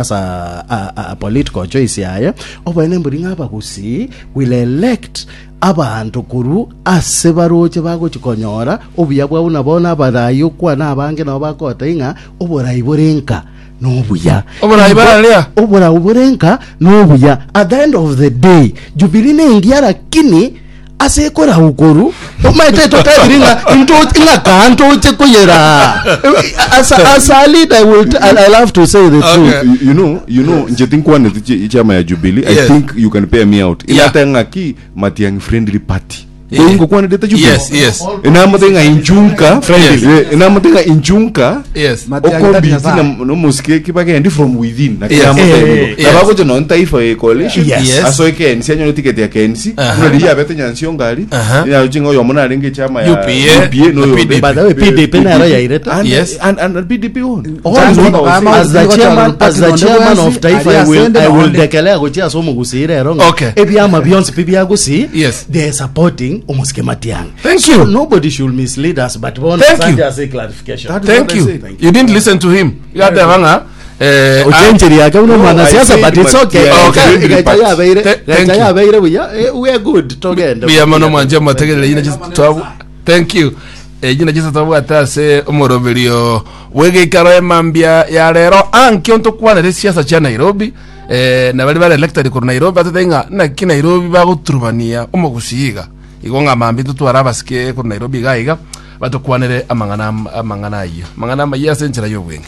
Ase a political choice yaye, oboene mbori ng'a abagusii will elect abanto korwa ase baroche bagochi konyora obuya bwabo buna bono abarai okwana abange nabo bakogotebia ng'a oborai bore nka nobuya. Oborai Igo bararia? oborau bore nka nobuya. At the end of the day, Jubilee nengiya lakini Ase ekorau koru omaete totebiri ng'a ntoche ng'a kaa ntoche koyeraa as, a- as a leader I will I, I love to say the truth Okay. You, you know, you know, nche tinkwaneti chi- chama ya Jubilee. I Yes. think you can pay me out. Yeah. Inate ng'aki Matiang'i friendly party. Yeah. Ingokwanete Jubilee. Yes, yes. Inamote ng'a inchunka. Friendly. Eh, Inamote ng'a inchunka. Yes. Matiang'i tari Okombiti Nyasaye. na nomusike kibagendi from within. Na Yes. kiramote Eh, nigo. yes. Nabagocha non taifa ye coalition. Yes. Yes. Asoe KNC anyore ticket ya KNC. Aha. Buna riria yabete Nyansiongo aria. Aha. Yaroche ng'a oyomo narenge echama ya UPA, UPA no na oyo PDP. By the way, PDP nero yairete. And, Yes. and, and, and PDP own. Oh, That's what I was saying. as the chairman, as the chairman of Taifa, I will, I will declare gochia ase omogusii rero ng'a Okay. ebiama bionsi pi bia Gusii Yes. they are supporting omosike Matiang'i. Thank so you. nobody should mislead us but bono Thank asante you. ase clarification. That is Thank what I you. said. You didn't listen to him. Igateba ng'a eh, Ochencheri yake buna No, mwanasiasa I but said it's okay. Matiang'i Okay. friendly Gacha party. yabeire, Th- thank gacha you. yabeire buya. Eh, we are good. Togende. Mbuya mono mwanche motegerere yina chis- twabu- Thank you. Eyio nachio tobwate ase omoroberio bw'egeikaro emambia ya rero ankio ntokwanere esiasa chia Nairobi eh, na baria bare elected korwa Nairobi batete ng'a naki Nairobi bagoturubania omogusii iga igo ng'a mambia totware abasike korwa Nairobi iga iga batokwanere amang'ana amang'ana ayio amang'ana amayia ase enchera y'obweng'e.